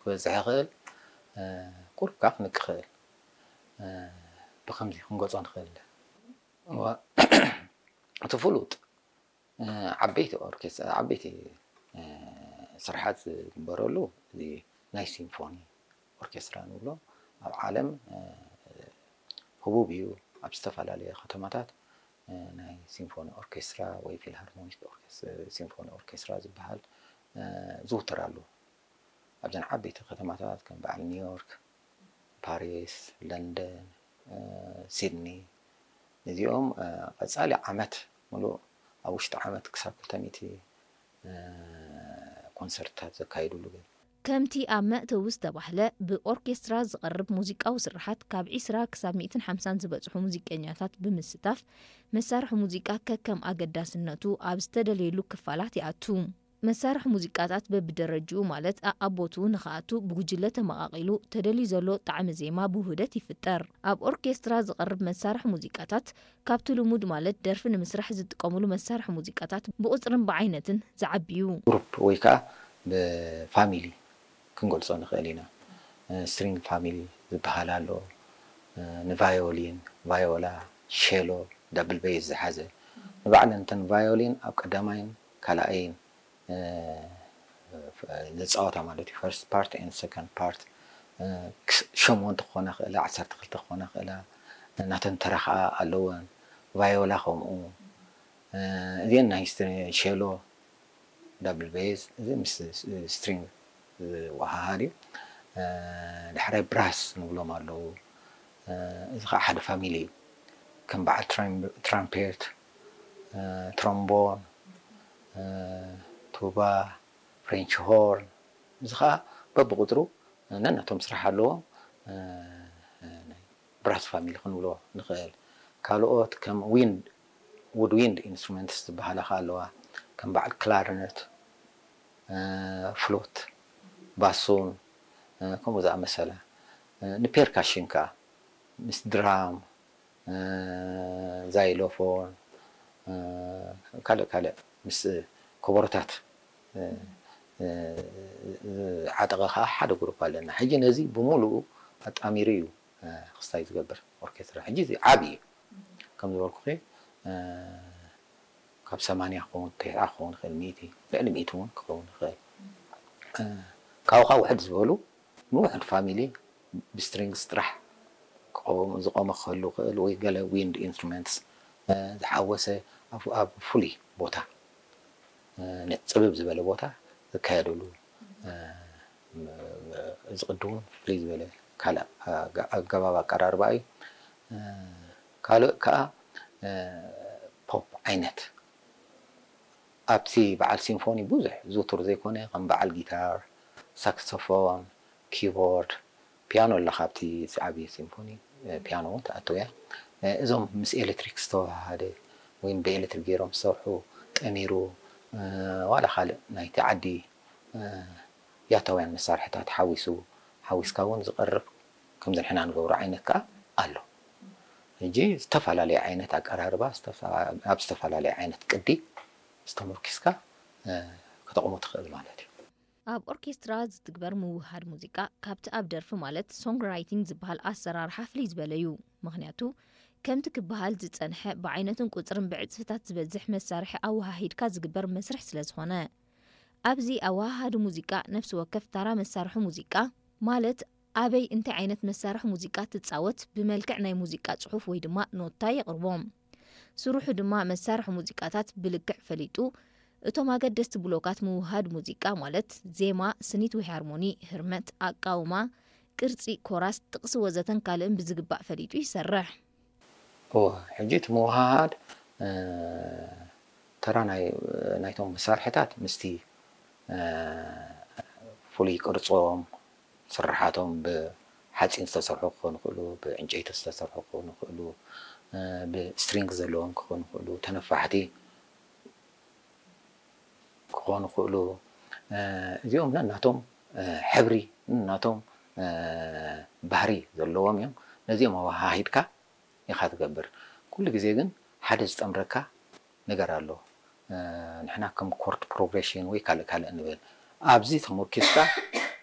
ክበዝሕ ይኽእል። ቁሩብ ከዓ ክንቂ ይኽእል። ብከምዚ ክንገልጾ ንኽእል። እቲ ፍሉጥ ዓበይቲ ኦርኬስ ዓበይቲ ስርሓት ዝግበረሉ እዚ ናይ ሲምፎኒ ኦርኬስትራ ንብሎ ኣብ ዓለም ህቡብ እዩ። ኣብ ዝተፈላለየ ከተማታት ናይ ሲምፎኒ ኦርኬስትራ ወይ ፊልሃርሞኒክ ሲምፎኒ ኦርኬስትራ ዝበሃል ዝውተር ኣሎ። ኣብዘን ዓበይቲ ከተማታት ከም በዓል ኒውዮርክ፣ ፓሪስ፣ ለንደን፣ ሲድኒ፣ እዚኦም ቀፃሊ ዓመት ሙሉእ ኣብ ውሽጢ ዓመት ክሳብ ክልተ ሚእቲ ኮንሰርትታት ዘካይዱሉ ግን ከምቲ ኣብ መእተዊ ዝተባህለ፣ ብኦርኬስትራ ዝቐርብ ሙዚቃዊ ስርሓት ካብ ዒስራ ክሳብ ሚእትን ሓምሳን ዝበጽሑ ሙዚቀኛታት ብምስታፍ፣ መሳርሒ ሙዚቃ ከከም ኣገዳስነቱ ኣብ ዝተደለየሉ ክፋላት ይኣቱ። መሳርሒ ሙዚቃታት በብደረጅኡ ማለት ኣኣቦትኡ ንኽኣቱ ብጉጅለ ተመቓቒሉ ተደልዩ ዘሎ ጣዕሚ ዜማ ብውህደት ይፍጠር። ኣብ ኦርኬስትራ ዝቐርብ መሳርሒ ሙዚቃታት ካብቲ ልሙድ ማለት ደርፊ ንምስራሕ ዝጥቀሙሉ መሳርሒ ሙዚቃታት ብቑጽርን ብዓይነትን ዝዓቢ እዩ። ግሩፕ ወይ ከዓ ብፋሚሊ ክንገልጾ ንኽእል ኢና። ስትሪንግ ፋሚሊ ዝበሃል ኣሎ። ንቫዮሊን፣ ቫዮላ፣ ሸሎ፣ ዳብል ቤዝ ዝሓዘ ንባዕለን እተን ቫዮሊን ኣብ ቀዳማይን ካልኣይን ዝፃወታ ማለት እዩ። ፈርስት ፓርት ኤንድ ሰከንድ ፓርት ሸሞንተ ክኾና ክእላ፣ ዓሰርተ ክልተ ክኾና ክእላ፣ ናተን ተራ ከዓ ኣለወን። ቫዮላ ከምኡ። እዚአን ናይ ሸሎ ዳብል ቤዝ፣ እዚ ምስ ስትሪንግ ዝወሃሃድ እዩ። ዳሕራይ ብራስ ንብሎም ኣለዉ። እዚ ከዓ ሓደ ፋሚሊ እዩ። ከም በዓል ትራምፔት፣ ትሮምቦን፣ ቱባ፣ ፍሬንች ሆርን፣ እዚ ከዓ በብቁፅሩ ነናቶም ስራሕ ኣለዎም። ብራስ ፋሚሊ ክንብሎ ንኽእል። ካልኦት ከም ዊንድ ውድ ዊንድ ኢንስትሩመንትስ ዝበሃላ ከዓ ኣለዋ። ከም በዓል ክላርነት፣ ፍሉት፣ ባሱን ከምኡ ዝኣመሰለ። ንፔርካሽን ከዓ ምስ ድራም፣ ዛይሎፎን፣ ካልእ ካልእ ምስ ኮቦሮታት ዝዓጠቐ ከዓ ሓደ ግሩፕ ኣለና። ሕጂ ነዚ ብምሉኡ ኣጣሚሩ እዩ ክስታይ ዝገብር ኦርኬስትራ። ሕጂ እዚ ዓቢ እዩ። ከም ዝበልኩኺ ካብ ሰማንያ ክኸውን፣ ተስዓ ክኸውን ይኽእል፣ ሚእቲ፣ ልዕሊ ሚእቲ እውን ክኸውን ይኽእል። ካብኡ ከዓ ውሕድ ዝበሉ ንውሕድ ፋሚሊ ብስትሪንግስ ጥራሕ ዝቆመ ክህሉ ይኽእል ወይ ገለ ዊንድ ኢንስትሩመንትስ ዝሓወሰ ኣብ ፍሉይ ቦታ፣ ጽብብ ዝበለ ቦታ ዝካየደሉ እዚ ቅዲ እውን ፍልይ ዝበለ ካልእ ኣገባብ ኣቀራርባ እዩ። ካልእ ከዓ ፖፕ ዓይነት ኣብቲ በዓል ሲምፎኒ ብዙሕ ዝውቱር ዘይኮነ ከም በዓል ጊታር፣ ሳክስፎን፣ ኪቦርድ፣ ፒያኖ ኣላ። ካብቲ ዓብዪ ሲምፎኒ ፒያኖ እውን ትኣትው እያ። እዞም ምስ ኤሌክትሪክ ዝተዋሃደ ወይ ብኤሌክትሪክ ገይሮም ዝሰርሑ ጠሚሩ ዋላ ካልእ ናይቲ ዓዲ ያታውያን መሳርሕታት ሓዊሱ ሓዊስካ እውን ዝቐርብ ከምዚ ንሕና ንገብሮ ዓይነት ከዓ ኣሎ። ሕጂ ዝተፈላለየ ዓይነት ኣቀራርባ ኣብ ዝተፈላለየ ዓይነት ቅዲ ዝተመርኪስካ ክተቕሞ ትኽእል ማለት እዩ። ኣብ ኦርኬስትራ ዝትግበር ምውህሃድ ሙዚቃ ካብቲ ኣብ ደርፊ ማለት ሶንግ ራይቲንግ ዝበሃል ኣሰራርሓ ፍልይ ዝበለ እዩ። ምኽንያቱ ከምቲ ክበሃል ዝጸንሐ ብዓይነትን ቁጽርን ብዕጽፍታት ዝበዝሕ መሳርሒ ኣወሃሂድካ ዝግበር መስርሕ ስለ ዝኾነ። ኣብዚ ኣወሃሃዲ ሙዚቃ ነፍሲ ወከፍ ታራ መሳርሒ ሙዚቃ ማለት ኣበይ እንታይ ዓይነት መሳርሒ ሙዚቃ ትጻወት ብመልክዕ ናይ ሙዚቃ ጽሑፍ ወይ ድማ ኖታ የቕርቦ። ስርሑ ድማ መሳርሒ ሙዚቃታት ብልክዕ ፈሊጡ እቶም ኣገደስቲ ብሎካት ምውህሃድ ሙዚቃ ማለት ዜማ፣ ስኒት ወይ ሃርሞኒ፣ ህርመት፣ ኣቃውማ፣ ቅርጺ፣ ኮራስ፣ ጥቕሲ ወዘተን ካልእን ብዝግባእ ፈሊጡ ይሰርሕ። እወ፣ ሕጂ እቲ ምውህሃድ ተራ ናይ ናይቶም መሳርሕታት ምስቲ ፍሉይ ቅርጾም፣ ስርሓቶም ብሓጺን ዝተሰርሑ ክኾኑ ይኽእሉ፣ ብዕንጨይቲ ዝተሰርሑ ክኾኑ ይኽእሉ፣ ብስትሪንግ ዘለዎም ክኾኑ ይኽእሉ፣ ተነፋሕቲ ክኾኑ ይኽእሉ። እዚኦም ነናቶም ሕብሪ፣ ነናቶም ባህሪ ዘለዎም እዮም። ነዚኦም ኣወሃሂድካ ኢኻ ትገብር። ኩሉ ግዜ ግን ሓደ ዝጠምረካ ነገር ኣሎ። ንሕና ከም ኮርድ ፕሮግሬሽን ወይ ካልእ ካልእ ንብል። ኣብዚ ተመርኪስካ